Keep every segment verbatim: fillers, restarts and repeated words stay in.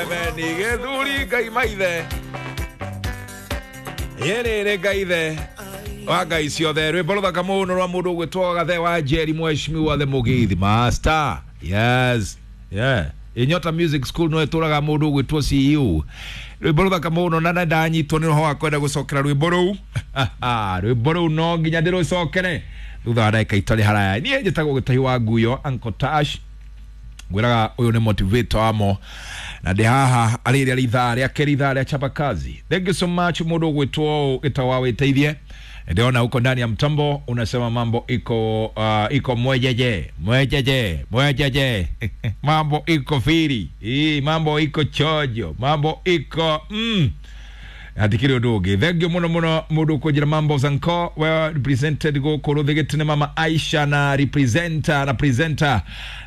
Ni gĩthuri Ngai maithe yĩrĩrĩ Ngai the wa Ngai ciothe. Rwĩmbo rũthaka mũno rwa mũndũ ũgwĩtwo Gathe wa Njeri, mheshimiwa the Mũgĩthi Master. Yes, yeah, Inyota Music School no ĩtũraga mũndũ ũgwĩtwo C E O. Rwĩmbo rũthaka mũno na ndanyitwo nĩ roho wa kwenda gũcokera rwĩmbo rũu. Rwĩmbo rũu no nginya ndĩrũcokere thutha wa ndagĩka itarĩ haraya. Niĩ njĩtagwo Gĩtahi wa Nguyo, Uncle Tash. Ngwĩraga ũyũ nĩ motivator wamo na ndĩ haha arĩ rĩa ithaa rĩa kerĩ, ithaa rĩa chapa kazi. Thank you so much mũndũ ũgwĩtwo Gĩtawa wa wĩteithie. Ndiona huko ndani ya mtambo unasema mambo iko uh, iko mwejeje mwejeje mwejeje mambo iko firi ii, mambo iko chojo, mambo iko mm. Hatikiri ũndũ ũngĩ. Thank you mũno mũno mũndũ ũkũnjĩra mambo zanko well represented gũkũ rũthĩgĩte nĩ mama Aisha na representer na presenter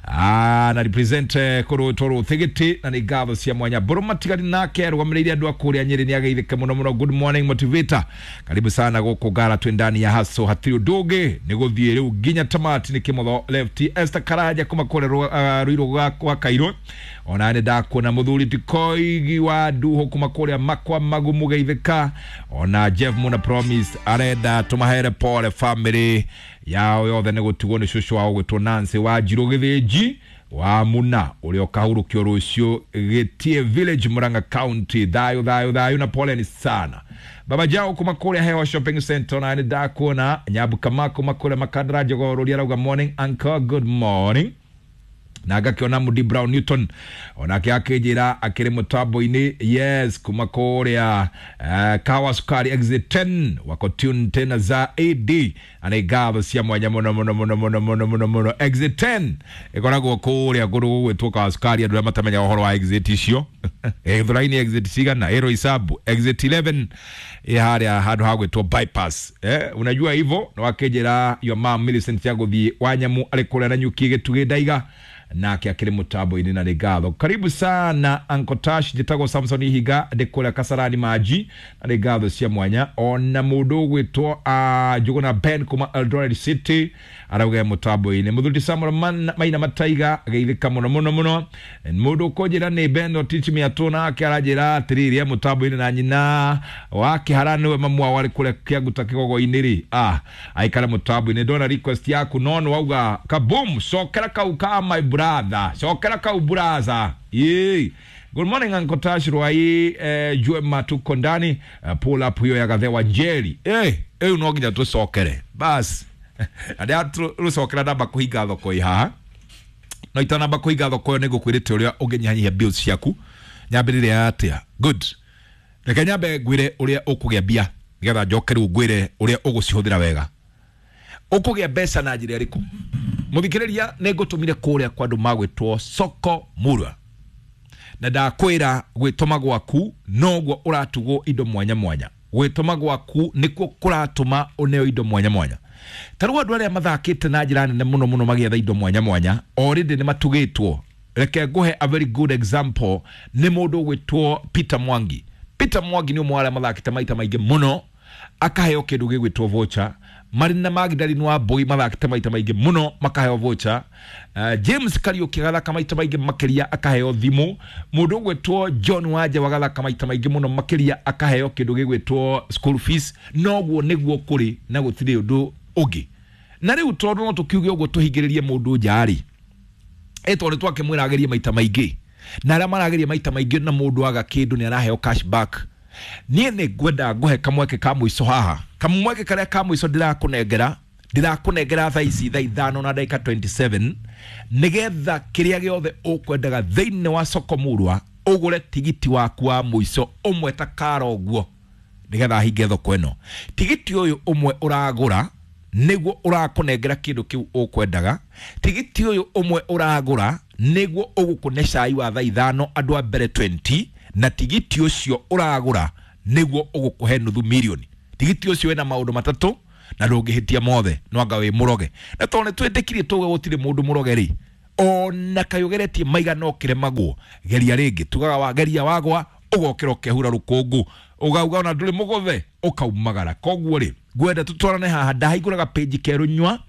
ah, na represent kũrũtwo rũthĩgĩte na nĩ ngatho cia mwanya. Mbũrũ matigari nake arũgamĩrĩire andũ a kũrĩa Nyĩrĩ nĩ ageithĩke mũno mũno. Good morning motivator, karibu sana gũkũ Ngara twĩ ndani ya haso. Hatirĩ ũndũ ũngĩ nĩ gũthiĩ rĩu nginya tamati. Nĩ kĩmotho left Esther Karanja kuma kũrĩa Ruiru gwa Kairũ. Ona nĩ ndakuona mũthuri Tikoigi wa Nduho kuma kũrĩa Makwa Magumu geithĩka. Ona Jeff Muna Promise arenda tũmahere pole family yao yothe nĩ gũtigwo nĩ cũcũ wao gwĩtwo Nancy wa Njirũ Gĩthĩnji wa Muna ũrĩa ũkahurũkio rũciũ Gĩtie Village, Murang'a County. Thayũ thayũ thayũ na poleni sana. Baba Jao kuma kũrĩa Hewa Shopping Center na nĩ ndakuona. Nyabu Kama kuma kũrĩa Makandara Jogoo rũria arauga morning uncle, good morning. Na ngakĩona Mudi Brown Newton onake akĩnjĩra akĩrĩ mũtambo-inĩ. Yes, kuma kũrĩa uh, Kawa Sukari exit ten wako tune tena za A D na nĩ ngatho cia mwanya mũno mũno mũno mũno mũno mũno mũno. Exit ten ĩkoragwo kũrĩa kũndũ gũgwĩtwo Kawa Sukari, andũ arĩa matamenyaga ũhoro wa exit icio. Gĩthũrai-inĩ exit cigana ĩro isabu exit eleven ĩ harĩa handũ ha gwĩtwo bypass. Eh, unajua hivyo. Na wakĩnjĩra your mom Millicent ya gũthiĩ Wanyamu arĩ kũrĩa na nyuki gĩtugĩ ndaiga nake akĩrĩ mũtambo-inĩ na nĩ ngatho. Karibu sana Uncle Tash, njĩtagwo Samson Ihiga ndĩ kũrĩa Kasarani Maji na nĩ ngatho cia mwanya. Ona mũndũ ũgwĩtwo uh, Njuguna Ben kuma Eldoret City arauga mũtambo-inĩ. Mũthuri Samuel Maina Mataiga geithĩka mũno mũno mũno. Mũndũ ũkũnjĩra nĩ Ben Otich Mĩatũ nake aranjĩra atĩrĩrĩ e mũtambo-inĩ na nyina wa Kĩhara nĩwe mamu wao arĩ kũrĩa Kĩanguta Kĩgogo-inĩ rĩ, ah, aikare mũtambo-inĩ. Ndona request yaku no nĩ wauga kaboom, cokera kau ka my brother, cokera kau braza. Yee. Good morning Uncle Tash Rwai, eh, jue matuko ndani, uh, pull up hiyo ya Gathe wa Njeri. Eh, eh no nginya tucokere. Bas. Andĩa tũcokera ndamba kũhinga thoko ĩ haha. No itanamba kũhinga thoko ĩyo nĩ ngũkwĩrĩte ũrĩa ũngĩnyihanyihia bills ciaku. Nyambĩrĩre atĩa? Good. Reke nyambe ngwĩre ũrĩa ũkũgĩa mbia nĩgetha njoke rĩu ngwĩre ũrĩa ũgũcihũthĩra wega. Ũkũgĩa mbeca na njĩra ĩrĩkũ? Mũthikĩrĩria, nĩ ngũtũmire kũrĩa kwa andũ magwĩtwo Soko Murwa na ndakwĩra gwĩtũma gwaku noguo ũratugwo indo mwanya mwanya. Gwĩtũma gwaku nĩkuo kũratũma ũneo indo mwanya mwanya. Ta rĩu andũ arĩa mathakĩte na njĩra nene mũno mũno magĩetha indo mwanya mwanya already nĩ matugĩtwo. Reke ngũhe a very good example nĩ mũndũ ũgwĩtwo Peter Mwangi. Peter Mwangi nĩ ũmwe wa arĩa mathakĩte maita maingĩ mũno akaheo kĩndũ gĩgwĩtwo voucher. Marina Magdalene wa Mbui mathakĩte maita maingĩ mũno makaheo voucher. Uh, James Kariuki agathaka maita maingĩ makĩria akaheo thimũ. Mũndũ ũgwĩtwo John Wanja wagathaka maita maingĩ mũno makĩria akaheo kĩndũ gĩgwĩtwo school fees. Noguo nĩguo kũrĩ na gũtirĩ ũndũ ũngĩ. Na rĩu tondũ no tũkiuge ũguo tũhingĩrĩrie mũndũ nja-rĩ, ĩ tondũ twakĩmwĩra agerie maita maingĩ na arĩa marageria maita maingĩ na mũndũ aga kĩndũ nĩ araheo cash back. Niĩ nĩ ngwenda ngũhe kamweke ka mũico haha. Kamweke karĩa ka mũico ndĩrakũnengera, ndĩrakũnengera thaa ici thaa ithano na ndagĩka twenty-seven nĩgetha kĩrĩa gĩothe ũkwendaga thĩinĩ wa Soko Murwa ũgũre tigiti waku wa mũico ũmwe ta kara ũguo nĩgetha hinge thoko ĩno. Tigiti ũyũ ũmwe ũragũra nĩguo ũrakũnengera kĩndũ kĩu ũkwendaga. Tigiti ũyũ ũmwe ũragũra nĩguo ũgũkũne cai wa thaa ithano andũ a mbere twenty na tigiti ũcio ũragũra nĩguo ũgũkũhe nuthu milioni. Tigiti ũcio wĩna maũndũ matatũ na ndũngĩhĩtia mothe no anga wĩ mũroge. Na tondũ nĩtwĩtĩkirie tuge gũtirĩ mũndũ mũroge rĩ, ona kaĩ ũgeretie maigana ũkĩremagwo, geria rĩngĩ. Tugaga wageria wagwa Ũgokĩra ũkehura rũkũngũ, ũgauga ona ndũrĩ mũgũthe, ũkaumagara. Koguo rĩ, ngwenda tũtwarane haha, ndahingũraga page kerũ nyua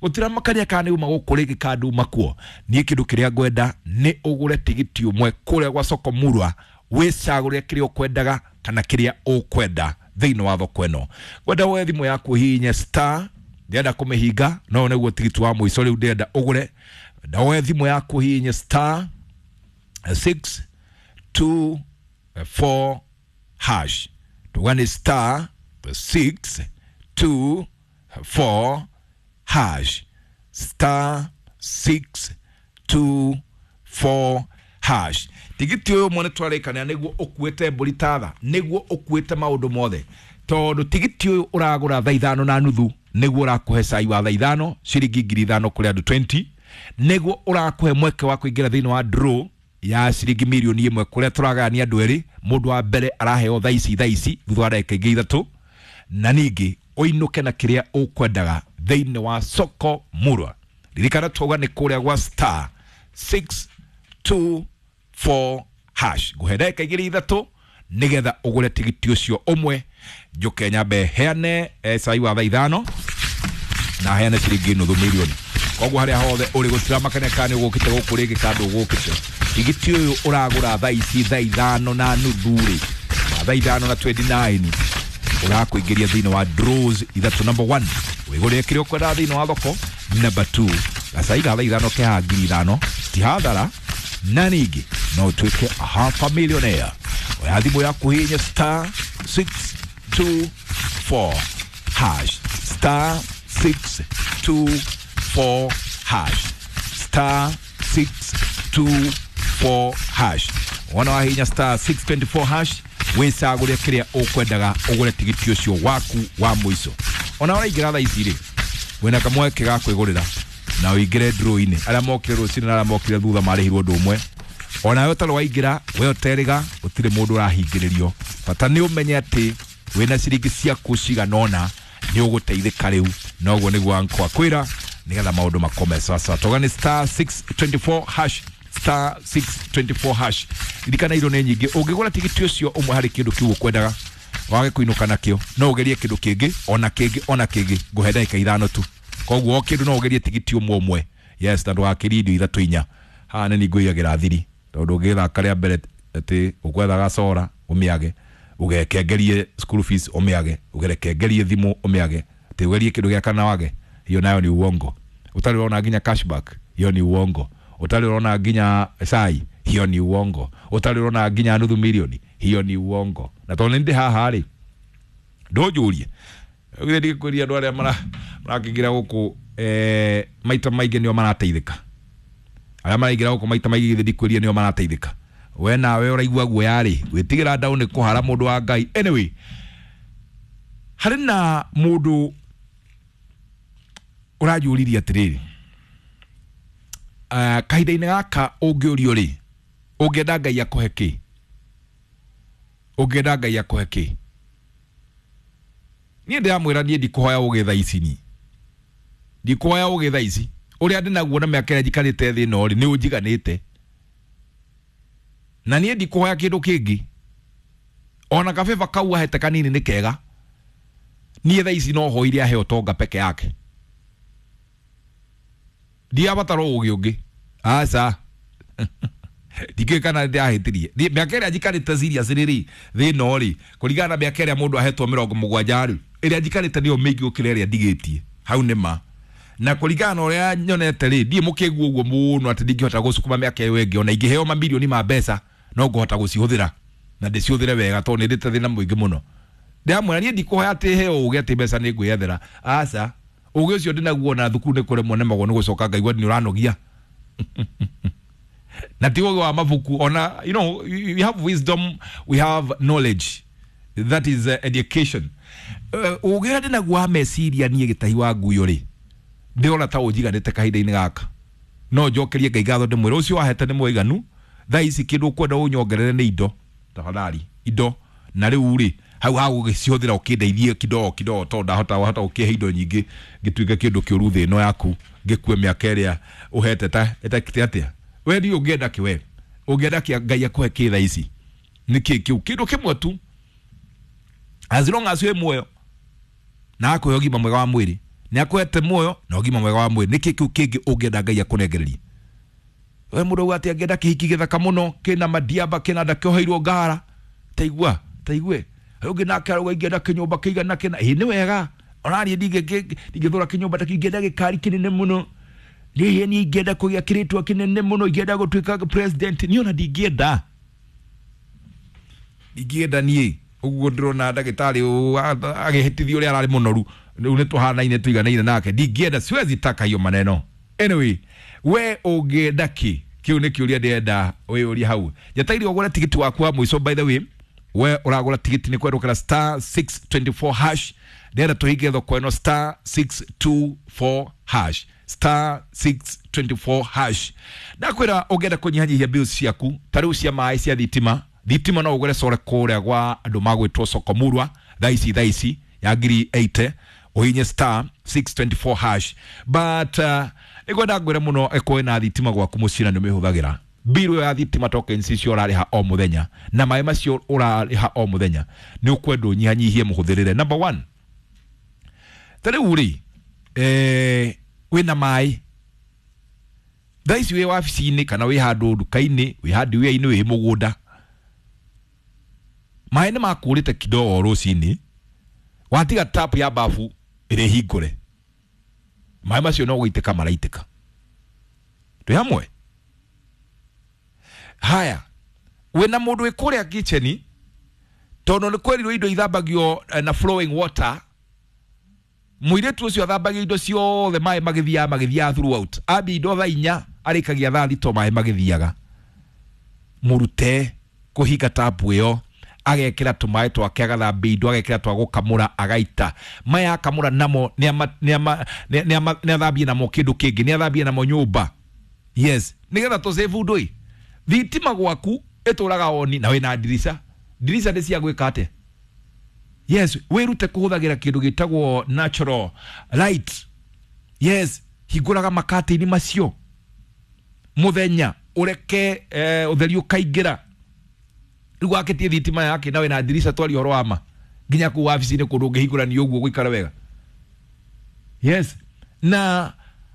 gũtiramakania kana nĩ uma gũkũ rĩngĩ kana nduma kuo. Niĩ kĩndũ kĩrĩa ngwenda nĩ ũgũre tigiti ũmwe kũrĩa gwa soko murwa, wĩcagũre kĩrĩa ũkwendaga kana kĩrĩa ũkwenda thĩinĩ wa thoko ĩno. Ngwenda woe thimũ yaku ũhihinye star, ndĩrenda kũmĩhinga no nĩguo tigiti wa mũico rĩu ndĩrenda ũgũre. Ngwenda woe thimũ yaku ũhihinye star six two four hash, tuga nĩ star six two four hash, star six two four hash. Tigiti ũyũ ũmwe nĩtwarĩkanĩra nĩguo ũkuĩte mbũri tatha, nĩguo ũkuĩte maũndũ mothe, tondũ tigiti ũyũ ũragũra thaa ithano na nuthu nĩguo ũrakũhe cai wa thaa ithano ciringi ngiri ithano kũrĩ andũ twenty, nĩguo ũrakũhe mweke wa kũingĩra thĩinĩ wa draw ya ciringi mirioni ĩmwe kũrĩa tũragayania andũ erĩ. Mũndũ wa mbere araheo thaa ici thaa ici thutha wa ndagĩka ingĩ ithatũ, na ningĩ ũinũke na kĩrĩa ũkwendaga thĩinĩ wa soko murwa. Ririkana twauga nĩ kũrĩa gwa star six two four hash. Ngũhe ndagĩka igĩrĩ ithatũ nĩgetha ũgũre tigiti ũcio ũmwe, njũke nyambe heane eh, cai wa thaa ithano na heane ciringi nuthu mirioni. Koguo harĩa hothe ũrĩ gũtiramakania kana nĩ ũgũkĩte gũkũ rĩngĩ kana ndũgũkĩte, tigiti ũyũ ũragũra thaa ici thaa ithano na nuthu rĩ, na thaa ithano na twenty nine ũrakũingĩria thĩinĩ wa draws ithatũ. Number one, wĩgũrĩre kĩrĩa ũkwendaga thĩinĩ wa thoko. Number two, gacai ga thaa ithano kehaga ngiri ithano, ti hathara, na ningĩ no ũtuĩke a half a millionaire. Oya thimũ yaku hihinya star six two four hash, star six two four hash, star six two four hash. Wona wahihinya star six twenty four hash, wĩcagũre kĩrĩa ũkwendaga ũgũre tigiti ũcio waku wa mũico. Ona ũraingĩra thaa ici rĩ, wĩna kamweke ga kwĩgũrĩra na ũingĩre draw-inĩ. Arĩa mokire rũcinĩ na arĩa mokire thutha marĩhirwo ũndũ ũmwe. Ona we ũtarĩ waingĩra, we ũterĩga, gũtirĩ mũndũ ũrahingĩrĩrio. Bata nĩ ũmenye atĩ wĩna ciringi ciaku cigana ũna nĩ ũgũteithĩka rĩu. Noguo nĩguo ankwa kwĩra nĩgetha maũndũ makome sawasawa. Toga nĩ star six twenty four hash, star six twenty four hash. Ririkana indo nĩ nyingĩ, ũngĩgũra tigiti ũcio ũmwe harĩ kĩndũ kĩu ũkwendaga wage kũinũka nakĩo, no ũgerie kĩndũ kĩngĩ ona kĩngĩ ona kĩngĩ. Ngũhe ndagĩka ithano tu, koguo o kĩndũ no ũgerie tigiti ũmwe ũmwe. Yes, na ndũgakĩrie indo ithatũ inya. Haha nĩ ngũigagĩra thiri, tondũ ũngĩthaka rĩa mbere atĩ ũkwethaga cora ũmĩage, ũgekengerie school fees ũmĩage, ũgerekengerie thimũ ũmĩage, atĩ ũgerie kĩndũ gĩa kana wage, hiyo nayo ni uongo. Ũtarĩ ũrona nginya cashback, hiyo ni uongo. Ũtarĩ ũrona nginya cai, hiyo ni uongo. Ũtarĩ ũrona nginya nuthu milioni, hiyo ni uongo. Na tondũ nĩ ndĩ haha rĩ, ndũnjũrie githĩ ndigĩkwĩria andũ arĩa marakĩingĩra gũkũ eh, maita maingĩ nĩo marateithĩka. Arĩa maraingĩra gũkũ maita maingĩ githĩ ndikwĩria nĩo marateithĩka. We nawe ũraigua guoya rĩ, gwĩtigĩra ndaũ nĩ kũhara mũndũ wa Ngai. Anyway, harĩ na mũndũ ũranjũririe atĩrĩrĩ, uh, kahinda-inĩ gaka ũngĩũrio rĩ, ũngĩenda Ngai akũhe kĩ? Ũngĩenda Ngai akũhe kĩ? Niĩ ndĩramwĩra niĩ ndikũhoya ũgĩ thaa ici ni. Ndikũhoya ũgĩ thaa ici. Ũrĩa ndĩnaguo na mĩaka ĩrĩa njikarĩte thĩ ĩno rĩ, nĩ ũnjiganĩte. Na niĩ ndikũhoya kĩndũ kĩngĩ. Ona kabeba kau ahete kanini nĩ kega. Niĩ thaa ici no hoire ahe ũtonga peke yake. Ndiabatara ũgĩ ũngĩ. Aca. Ndikĩũĩ kana ndĩrahĩtirie. Mĩaka ĩrĩa njikarĩte serious rĩ, thĩ ĩno rĩ, kũringana na mĩaka ĩrĩa mũndũ ahetwo mĩrongo mũgwanja rĩ, ĩrĩa njikarĩte nĩyo mĩingĩ gũkĩra ĩrĩa ndigĩtie. Hau nĩ ma. Na kũringana na ũrĩa nyonete rĩ, ndiĩ mũkĩgu ũguo mũno atĩ ndingĩhota gũcukuma mĩaka ĩyo ĩngĩ. Ona ingĩheo mamirioni ma mbeca, no ngũhota gũcihũthĩra. Na ndĩcihũthĩre wega tondũ nĩ ndĩte thĩna mũingĩ mũno. Ndĩramwĩra niĩ ndikũhoya atĩ heo ũgĩ atĩ mbeca nĩ ngwĩyethera. Aca. Ũgĩ ũcio ndĩnaguo na thukuru nĩ kũremwo nemagwo nĩ gũcoka ngaigua nĩ ũranogia. Na ti ũgĩ wa mabuku ona, you know, we have wisdom, we have knowledge, that is uh, education. Ũgĩ ũrĩa ndĩnaguo wa meciria niĩ gĩtahi wa nguyo rĩ, ndĩrona ta ũnjiganĩte kahinda-inĩ gaka. No njokerie Ngai ngatho ndĩmwĩre ũcio wahete nĩ mũiganu. Thaa ici kĩndũ ũkwenda ũnyongerere nĩ indo, tafadhali indo. Na rĩu rĩ, hau ha gũgĩcihũthĩra ũkĩndeithie kidogo kidogo, tondũ ndahota wahota gũkĩhe indo nyingĩ ngĩtuĩke kĩndũ kĩũru thĩ ĩno yaku, ngĩkue mĩaka ĩrĩa ũhete ta ĩtakĩte atĩa. We ndiũ ũngĩenda kĩ we? Ũngĩenda kĩ Ngai akũhe kĩ thaa ici? Nĩ kĩ kĩu kĩndũ kĩmwe tu? As long as wĩ muoyo na akũhe ũgima mwega wa mwĩrĩ, nĩ akũhete muoyo na ũgima mwega wa mwĩrĩ, nĩkĩ kĩu kĩngĩ ũngĩenda Ngai akũnengererie? We mũndũ auga atĩ angĩenda kĩhiki gĩthaka mũno, kĩna madiaba, kĩna ndakĩoheirwo ngara, taigua taigue. Ũngĩ nake arauga ingĩenda kĩnyũmba kĩigana kĩna. Ĩ nĩ wega, onaniĩ ndingĩthũra kĩnyũmba ta kĩu, ingĩenda gĩkari kĩnene mũno. Niĩ niĩ ingĩenda kũgĩa kĩrĩtwa kĩnene mũno, ingĩenda gũtuĩka president. Niĩ ona ndingĩenda ndingĩenda niĩ ũguo ndĩrona ndagĩtarĩ agĩhĩtithio ũrĩa ararĩ mũnoru. Rĩu nĩ tũhanaine, tũiganaine nake. Ndingĩenda, siwezi taka hiyo maneno. Anyway, we ũngĩenda kĩ? Kĩu nĩ kĩũria ndĩrenda wĩyũrie hau. Njeteire ũgũre tigiti waku wa mũico. By the way, we ũragũra tigiti nĩ kwendũkĩra star six two four hash. Ndĩrenda tũhinge thoko ĩno, star six two four hash, star six two four hash. Ndakwĩra ũngĩenda kũnyihanyihia bills ciaku, ta rĩu cia maĩ, cia thitima. Thitima no ũgũre core kũrĩa gwa andũ magwĩtwo Sokomurwa thaa ici, thaa ici ya ngiri mĩrongo ĩnane, ũhinye star six two four hash. But uh, nĩngwenda ngwĩre mũno, ĩkorwo na thitima gwaku mũciĩ na nĩ ũmĩhũthagĩra, biru ya thitima, tokens icio ũrarĩha o mũthenya na maĩ macio ũrarĩha o mũthenya, nĩ ũkwenda ũnyihanyihie mũhũthĩrĩre. Number one, ta rĩu rĩ, eh, wĩna maĩ thaa ici, wĩ wabici-inĩ kana wĩ handũ nduka-inĩ, wĩ handũ wĩra-inĩ, wĩ mũgũnda, maĩ nĩ makũrĩte kidogo rũcinĩ, watiga tap ya bafu ĩrĩ hingũre, maĩ macio no gũitĩka maraitĩka. Twĩ hamwe? Haya, wĩna mũndũ wĩ kũrĩa kitchen, tondũ nĩ kwerirwo indo ithambagio eh, na flowing water, mũirĩtu ũcio athambagia indo ciothe maĩ magĩthiaga magĩthiaga throughout. Ambia indo thaa inya, arĩkagia thaa thita maĩ magĩthiaga. Mũrute kũhinga tapu ĩyo, agekĩra tũmaĩ twake, agathambia indo, agekĩra twa gũkamũra, agaita maya akamũra namo, nĩ athambie namo kĩndũ kĩngĩ, nĩ athambie namo nyũmba. Yes, nĩgetha tũsave ndũi. Thitima gwaku ĩtũraga oni na wĩna ndirica. Ndirica nĩ cia gwĩka atĩa? Yes, wĩrute kũhũthagĩra kĩndũ gĩtagwo natural light. Yes, hingũraga makatĩini macio mũthenya, ũreke eh, ũtheri ũkaingĩra. Rĩu wakĩtie thitima yake na wĩna ndirica, twaria ũhoro wa ma, nginya kũu wabici-inĩ kũndũ ũngĩhingũra ũguo gũikara wega. Yes, na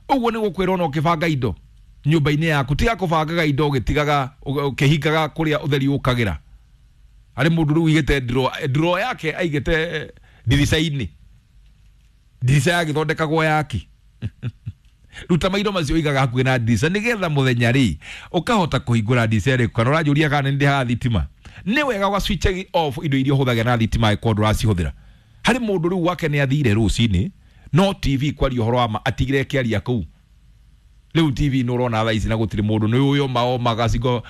ũguo nĩ gũkwĩra ona ũkĩbanga indo nyũmba-inĩ yaku, tiga kũbangaga indo ũgĩtigaga ũkĩhingaga kũrĩa ũtheri ũkagĩra. Harĩ mũndũ rĩu ũigĩte drawer drawer yake aigĩte ndirica-inĩ, ndirica yagĩthondekagwo yaki. Ruta maindo macio ũigaga hakuhĩ na ndirica, nĩgetha mũthenya rĩ ũkahota kũhingũra ndirica ĩrĩkũ. Kana ũranjũria kana nĩ ndĩhaga thitima, nĩ wega ũga switch off indo iria ũhũthagĩra na thitima angĩkorwo ndũracihũthĩra. Harĩ mũndũ rĩu wake nĩ athire rũcinĩ, no T V, kwaria ũhoro wa ma, atigire kĩaria kũu. Rĩu T V nĩ ũrona thaa ici na gũtirĩ mũndũ, nĩ ũyũ maoma gacigo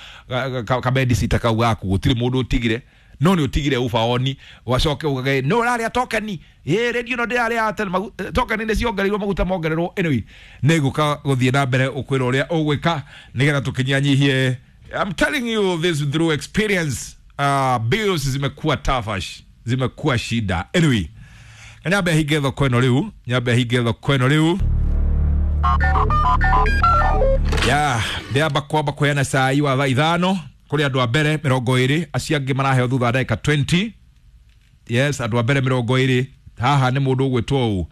kabedicita kau gaku, gũtirĩ mũndũ ũtigire, no nĩ ũtigire ubaoni. Wacoke ugage no ũrarĩa tokeni ĩ radio, no ndĩrarĩa atĩ magu- tokeni nĩ ciongereirwo, maguta mongererwo. Anyway, nĩ ngũka gũthiĩ na mbere ũkwĩra ũrĩa ũgwĩka nĩgetha tũkĩnyihanyihie. I'm telling you this through experience. uh, bills zimekuwa tafash, zimekuwa shida. Anyway, nyambe hinge thoko ĩno rĩu, nyambe hinge thoko ĩno rĩu ya ndĩamba kwamba kũheana cai wa thaa ithano kũrĩ andũ a mbere mĩrongo ĩrĩ. Acio angĩ maraheo thutha wa ndagĩka mĩrongo ĩrĩ. Yes, andũ a mbere mĩrongo ĩrĩ haha nĩ mũndũ ũgwĩtwo ũũ.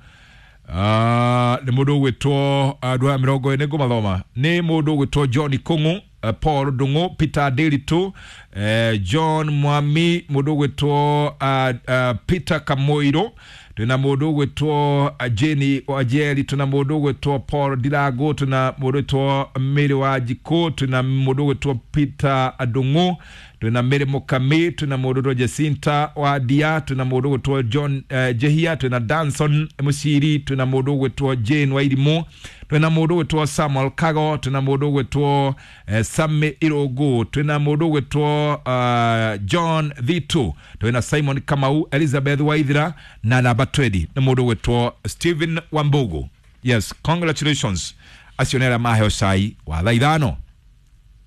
Ah, nĩ mũndũ ũgwĩtwo, andũ aya mĩrongo ĩrĩ nĩ ngũmathoma, nĩ mũndũ ũgwĩtwo John Kung'u, eh, Paul Ndung'u, Peter Ndiritu, eh, John Mwami, mũndũ ũgwĩtwo uh, uh, Peter Kamoiro, twĩna mũndũ ũgwĩtwo uh, Jane Wajeri, twĩna mũndũ ũgwĩtwo Paul Ndirango, twĩna mũndũ ũgwĩtwo Mary Wanjikũ, twĩna mũndũ ũgwĩtwo Peter Ndung'u, twĩna Mary Mukami, twĩna mũndũ ũgwĩtwo Jacinta Wadia, twĩna mũndũ ũgwĩtwo John uh, Jehia, twĩna Danson Musiri, twĩna mũndũ ũgwĩtwo Jane Wairimu, twĩna mũndũ ũgwĩtwo Samuel Kago, twĩna mũndũ ũgwĩtwo eh, Sami Irũngũ, twĩna mũndũ ũgwĩtwo uh, John Thitu, twĩna Simon Kamau, Elizabeth Waithira, na namba mĩrongo ĩrĩ nĩ mũndũ ũgwĩtwo Stephen Wambugu. Yes, congratulations. Acio nĩ arĩa maheo cai wa thaa ithano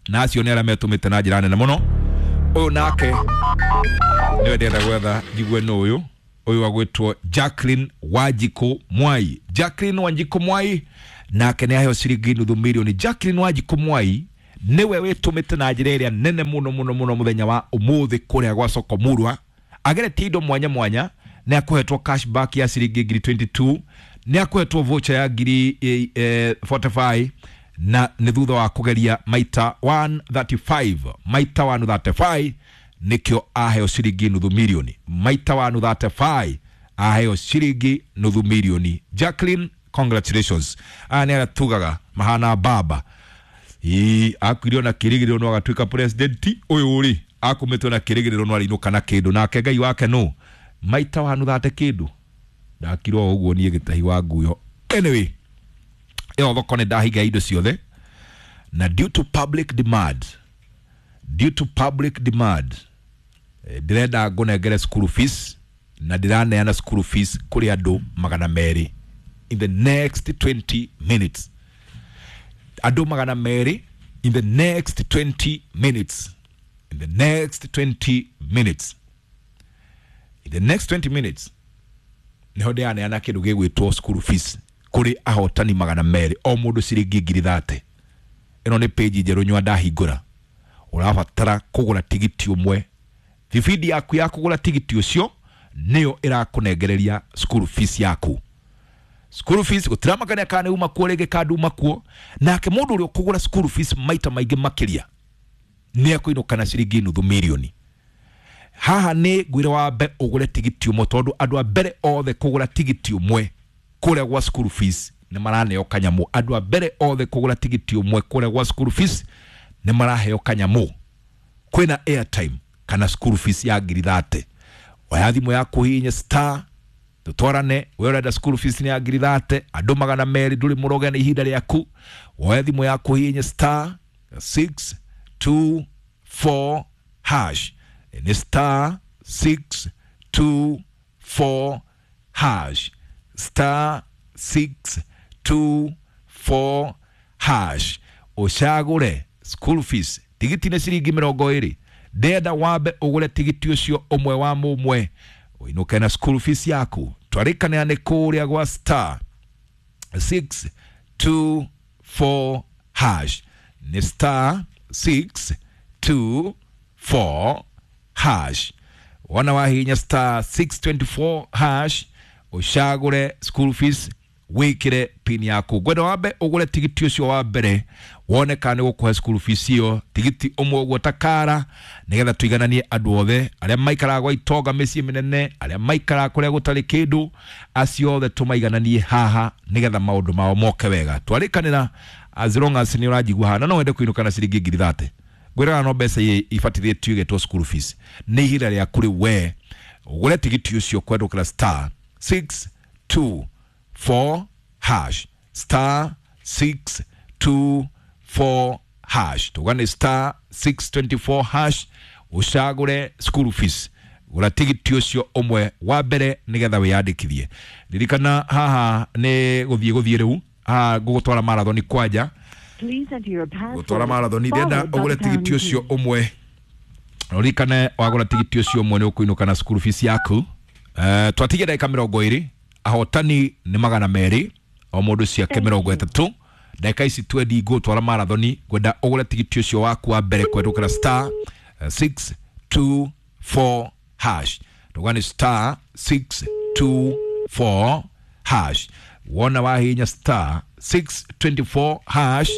na acio nĩ arĩa metũmĩte na njĩra nene mũno. Ũyũ nake nĩwe ndĩrenda gwetha njigue nũ ũyũ. Ũyũ agwĩtwo Jacqueline Wanjikũ Mwai. Jacqueline Wanjikũ Mwai nake nĩ aheo ciringi nuthu milioni. Jacqueline Wanjikũ Mwai Niwe wĩtũmĩte na njĩra ĩrĩa nene mũno mũno mũno mũthenya wa ũmũthĩ kũrĩa gwa soko murwa. Ageretie indo mwanya mwanya, nĩ akũhetwo cashback ya ciringi ngiri mĩrongo ĩĩrĩ na igĩrĩ, nĩ akũhetwo voucher ya ngiri eh, eh, mĩrongo ĩna na ithano, na nĩ thutha wa kũgeria maita igana rĩa mĩrongo ĩtatũ na ithano, maita igana rĩa mĩrongo ĩtatũ na ithano nĩkĩo aheo ciringi nuthu milioni. Maita igana rĩa mĩrongo ĩtatũ na ithano aheo ciringi nuthu milioni. Jacqueline, congratulations. Aya nĩ arĩa tugaga mahana baba. Ii, akuire na kĩrĩgĩrĩro no agatuĩka president ũyũ rĩ, akumĩtwo na kĩrĩgĩrĩro no arĩinũka na kĩndũ, nake Ngai wake no maita wanu thate kĩndũ ndakirwo ũguo niĩ gĩtahi wa nguyo. Anyway, ĩyo thoko nĩ ndahinga indo ciothe, na due to public demand due to public demand eh, ndĩrenda ngũnengere school fees, na ndĩraneana school fees kũrĩ andũ magana merĩ in the next twenty minutes. Andũ magana merĩ in the next twenty minutes, in the next twenty minutes, in the next twenty minutes niho ndĩraneana kĩndũ gĩgwĩtwo school fees kũrĩ ahotani magana merĩ, o mũndũ ciringi ngiri thate. Ĩno nĩ page njerũ nyua ndahingũra. Ũrabatara kũgũra tigiti ũmwe. Thibindi yaku ya kũgũra tigiti ũcio nĩyo ĩrakũnengereria school fees yaku. School fees gũtiramakania kana nĩ uma kuo rĩngĩ kana nduma kuo. Nake mũndũ ũrĩa ũkũgũra school fees maita maingĩ makĩria nĩ ekũinũka na ciringi nuthu milioni. Haha nĩ ngwĩre wambe ũgũre tigiti ũmwe, tondũ andũ a mbere othe kũgũra tigiti ũmwe kũrĩa gwa school fees nĩ maraneo kanyamũ. Andũ a mbere othe kũgũra tigiti ũmwe kũrĩa gwa school fees nĩ maraheo kanyamũ. Kwĩna airtime kana school fees ya ngiri thate. Oya thimũ yaku, hihinya star, tutwarane. We ũrenda school fees nĩ ya ngiri thate, andũ magana merĩ, ndũrĩ mũroge nĩ ihinda rĩaku. Woe thimũ yaku, hihinya star six two four hash. Nĩ star six two four hash, star six two four hash, ũcagũre school fees. Tigiti nĩ ciringi mĩrongo ĩrĩ. Ndenda wambe ũgũre tigiti ũcio ũmwe wa mũmwe ũinũke na school fees yaku. Twarĩkanĩra nĩ kũrĩa gwa star six two four hash, nĩ star six two four hash. Wona wahihinya star six two four hash, ũcagũre school fees, wĩkĩre pin yaku. Ngwenda wambe ũgũre tigiti ũcio wa mbere wone kana nĩ gũkũhe school fees ĩyo, tigiti ũmwe ũguo ta kara, nĩgetha tũigananie andũ othe arĩa maikaraga gwa itonga mĩciĩ mĩnene, arĩa maikaraga kũrĩa gũtarĩ kĩndũ, acio othe tũmaigananie haha nĩgetha maũndũ mao moke wega. Twarĩkanĩra, as long as nĩ ũranjigua haha na no wende kũinũka na ciringi ngiri thate, ngwĩraga no mbeca ibatithĩtio igetwo school fees. Nĩ ihinda rĩaku rĩu we ũgũre tigiti ũcio kwendũkĩra star six two four hash, star six two four hash. Tuga nĩ star six two four hash, ũcagũre school fees, gũra tigiti ũcio ũmwe wa mbere nĩgetha wĩyandĩkithie. Ririkana haha nĩ gũthiĩ gũthiĩ rĩu haha ngũgũtwara marathoni kwanja. Please enter your password. Gũtwara marathoni, ndĩrenda followed by ũgũre the pound tigiti ũcio key. Ũmwe. Ũririkane wagũra tigiti ũcio ũmwe nĩ ũkũinũka na school fees yaku. uh, twatigia ndagĩka mĩrongo ĩrĩ, ahotani nĩ magana merĩ, o mũndũ ciake Thank mĩrongo you. ĩtatũ. Ndagĩka ici twendi ngũtwara marathoni. Ngwenda ũgũre tigiti ũcio waku wa mbere kwendũkĩra star six two four hash. Tuga nĩ star six two four hash. Wona wahihinya star six two four hash,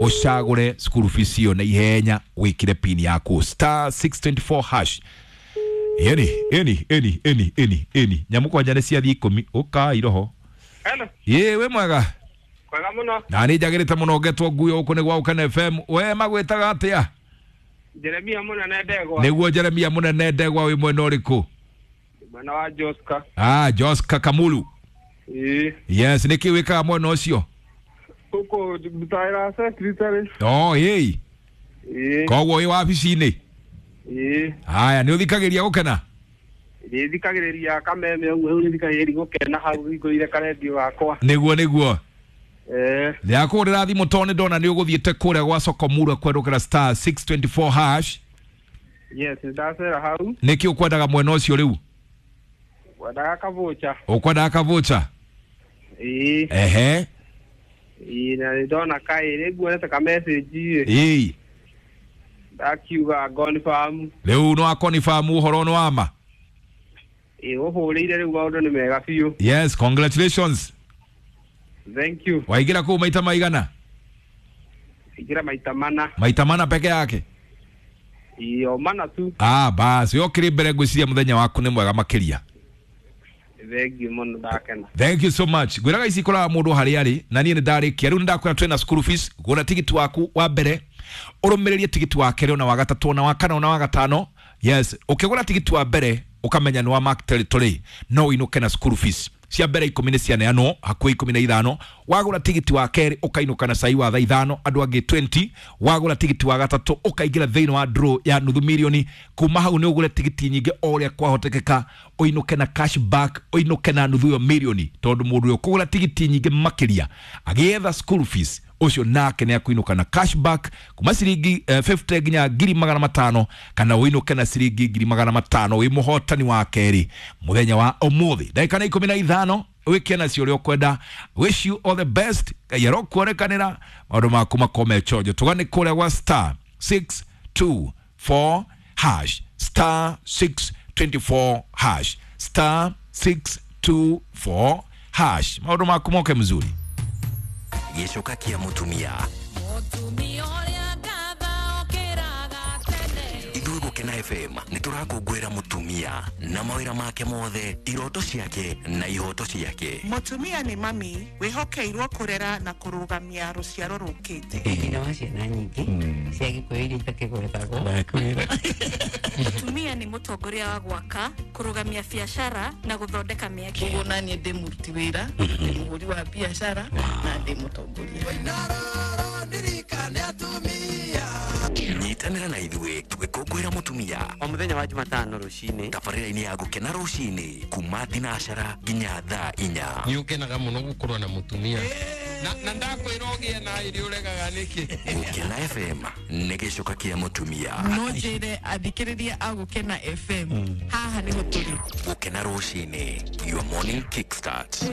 ũcagũre school fees ĩyo na ihenya, wĩkĩre pin yaku, star six two four hash. Ĩni ĩni ĩni ĩni ĩni ĩni nyamũ kwanja nĩ ciathiĩ ikũmi ũkai roho. Hello, Ĩ, wĩ mwega? Kwega mũno. Na nĩ njagĩrĩte mũno ngetwo nguyo gũkũ nĩ gwa Ũkene F M. We magwĩtaga atĩa? Jeremia Mũnene Ndegwa. Nĩguo, Jeremia Mũnene Ndegwa, wĩ mwena ũrĩkũ? Mwena wa Joska. Ah, Joska Kamulu. Ĩĩ. Yes, nĩkĩ wĩkaga mwena ũcio? Gũkũ ndutagĩra secretary. Oh, ĩĩ. Ĩĩ. Koguo wĩ wabici-inĩ? Ĩĩ. Haya, nĩ ũthikagĩria Gũkena? Nĩ thikagĩrĩria kameme ũguo, rĩu nĩ thikagĩrĩria Gũkena hau hingũrĩire karendio gakwa. Nĩguo nĩguo. Eh. Ndĩrakũhũrĩra thimũ tondũ nĩ ndona nĩ ũgũthiĩte kũrĩa gwa soko murwa kwendũkĩra star six two four hash. Yes, ndacera hau. Nĩkĩ ũkwendaga mwena ũcio rĩu? Wendaga kabũcha. Ũkwendaga kabũcha? Ĩĩ. Ehe. Ĩĩ, na nĩ ndona kaĩ rĩ nguonete ka message ĩ. Ĩĩ. Ndakiuga confirm. Rĩu no akonifam ũhoro nĩ wama. Ĩ ũhũrĩire rĩu maũndũ nĩ mega biũ. Yes, congratulations. Thank you. Waingĩra kũu maita maigana? Ingĩra maita mana. Maita mana peke yake? Ĩ o mana tu. Ah, basi yokĩrĩ mbere ngwĩciria mũthenya waku nĩ mwega makĩria. Thank you mũno, ndakena. Thank you so much. Ngwĩraga ici ikoraga mũndũ harĩa arĩ na niĩ nĩ ndarĩkia rĩu nĩ ndakwĩra twĩna school fees. Gũra tigiti waku wa mbere, ũrũmĩrĩrie tigiti wa kerĩ ona wa gatatũ ona wa kana ona wa gatano. Yes, ũkĩgũra tigiti wa mbere ũkamenya nĩ wa mark territory, no ũinũke na school fees cia mbere ikũmi nĩ cianeanwo hakuhĩ ikũmi na ithano. Wagũra tigiti wa kerĩ ũkainũka na cai wa thaa ithano, andũ angĩ mĩrongo ĩĩrĩ. Wagũra tigiti wa gatatũ ũkaingĩra thĩinĩ wa draw ya nuthu milioni. Kuma hau nĩ ũgũre tigiti nyingĩ o ũrĩa kwahotekeka, ũinũke na cash back, ũinũke na nuthu ĩyo milioni, tondũ mũndũ ũyũ kũgũra tigiti nyingĩ makĩria agĩetha school fees ũcio nake nĩ akũinũka na cash back kuma ciringi eh, mĩrongo ĩtano nginya ngiri magana matano, kana ũinũke na ciringi ngiri magana matano wĩ mũhotani wa kerĩ mũthenya wa ũmũthĩ. Ndagĩka nĩ ikũmi na ithano, wĩke nacio ũrĩa ũkwenda. Wish you all the best. Ngai arokuonekanĩra, maũndũ maku makome chonjo. Tũgane kũrĩa gwa star six two four hash, star six two four hash, star six two four hash, maũndũ maku moke mzuri. Gĩcoka kĩa mũtumia. Mũtumia ũrĩa ngatha okĩraga tene. Ithuĩ Gũkena F M nĩ tũrakũngũĩra mũtumia na mawĩra make mothe, iroto ciake na ihoto ciake. Mũtumia nĩ mami wĩhokeirwo kũrera na kũrũgamia rũciaro rũkĩte. Nyina wa ciana nyingĩ cia Gĩkũyũ iria itakĩgwetagwo. Mũtumia nĩ mũtongoria wa gwaka, kũrũgamia biacara na gũthondeka mĩeke. Koguo naniĩ ndĩ mũruti wĩra, ndĩ mũhũri wa biacara na ndĩ mũtongoria. Nyitanĩra na ithuĩ tũgĩkũngũĩra mũtumia o mũthenya wa Jumatano rũcinĩ tabarĩra-inĩ ya Gũkena rũcinĩ kuma thinacara nginya thaa inya. Nĩ ũkenaga mũno gũkorwo na mũtumia na na ndakwĩra ũgĩe na irio ũregaga nĩkĩ. Gũkena F M nĩ gĩcoka kĩa mũtumia. No njĩre athikĩrĩria a Gũkena F M haha nĩho tũrĩ. Gũkena rũcinĩ, your morning kickstart.